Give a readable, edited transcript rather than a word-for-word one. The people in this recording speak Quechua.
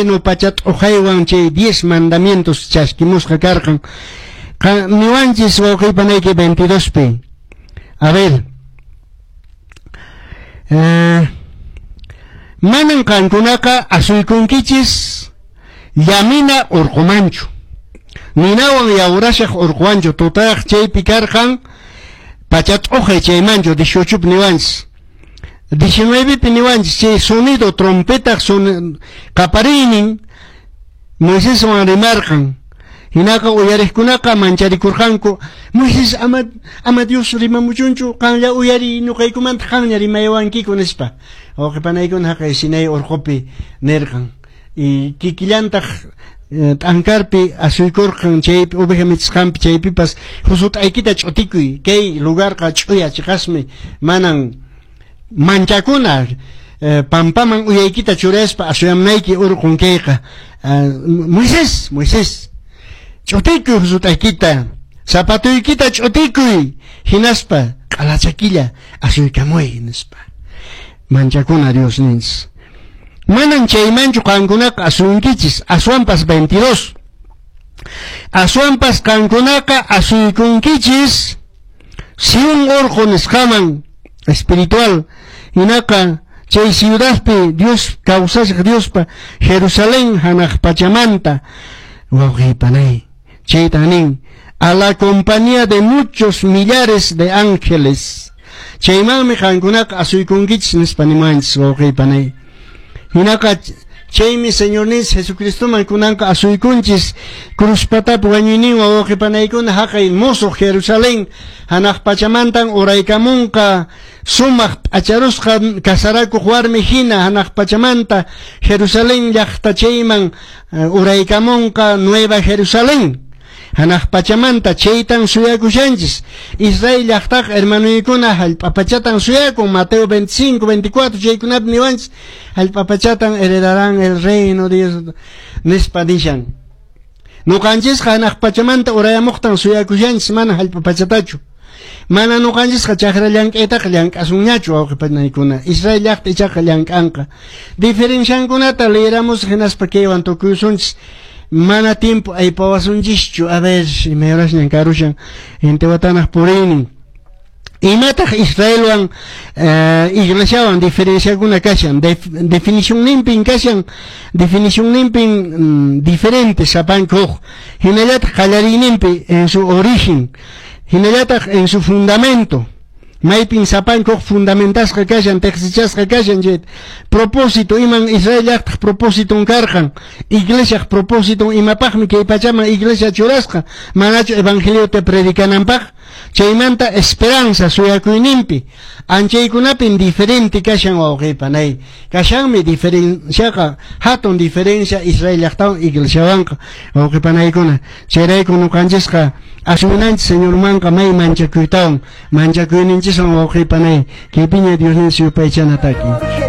Trueno pacha t'uqaywan chay 10 mandamientos chaskimusqa karqan. Niwanchis wawqiypanayki 22pi. A ver. Manan qankunaqa asuykunkichis llamina urqumanchu. Ninawan yawrashaq urquwanchu tutayaq chaypi karqan pacha t'uqay chaymanchu 18 niwanchis. 19pi niwanchis chay sonido trompetaq qapariynin Moiseswan rimarqan. Hinaqa uyariqkunaqa mancharikurqanku. Moisés ama Dios rimamuchunchu qanlla uyariy ñuqaykumanta qanña rimaywankiku nispa. Wawqipanaykuna haqay Sinai urqupi nirqan. Y kikillantaq t'ankarpi asuykurqan chaypi oveja michisqanpi chaypipas husut'aykita ch'utikuy kay lugarqa ch'uya chiqasmi manan manchakuna pampaman uyaykita churaspa asuyamnayki urqun kayqa. Moisés, Moisés, ch'utikuy husut'aykita, zapatuykita ch'utikuy, hinaspa q'alachakilla asuykamuy nispa. Manchakuna Dios ninchis. Manan chaymanchu qankunaqa asunkichis, aswanpas 22. Aswanpas qankunaqa asuykunkichis Sion urqu nisqaman espiritual hinaqa chay ciudadpi Dios kawsashaq Diospa Jerusalén hanaq pachamanta wawqiypanay chayta nin a la compañía de muchos millares de ángeles chaymanmi qankunaqa asuykunkichis nispa nimanchis wawqiypanay hinaqa chaymi Señorninchis Jesucristoman kunanqa asuykunchis cruz patapi wañuyninwan wawqipanaykuna haqay musuq Jerusalén hanaq pachamantan uraykamunqa sumaq p'acharusqa kasarakuq warmi hina hanaq pachamanta Jerusalén llaqta chayman uraykamunqa Nueva Jerusalén hanaq pachamanta chaytan suyakushanchis Israel llaqtaqa hermanuykuna hallp'a pachatan suyakun Mateo 25, 24 chaykunapi niwanchis hallp'a pachatan heredarán el reino Dios nispa nishan nuqanchisqa hanaq pachamanta urayamuqtan suyakushanchis mana hallp'a pachatachu mana nuqanchisqa chakra llank'aytaqa llank'asunñachu wawqipanaykuna Israel llaqta ichaqa llank'anqa diferenciankunata leeramusaq hinaspa kaywan tukuysunchis mana tiempo aypawasunchischu a ver imay horasñan karushan gente watanaq puriynin imataq Israelwan iglesiawan diferenciakuna kashan definicionninpin kashan definicionninpin diferente sapanka huk hinallataq qallariyninpi en su origen hinallataq en su fundamento maypin sapanka huk fundamentasqa kashan teqsichasqa kashan chay propósito iman Israel llaqtaq propósiton karqan iglesiaq propósiton imapaqmi kay pachaman iglesia churasqa manachu evangeliota predicananpaq chaymanta esperanza suyakuyninpi anchaykunapin diferente kashan wawqipanay kashanmi diferenciaqa hatun diferencia Israel llaqtawan iglesiawanqa wawqipanaykuna chayrayku nuqanchisqa asuminanchis Señormanqa may manchakuytawan manchakuyninchiswan wawqipanay kaypiña Diosninchis yupaychanataki.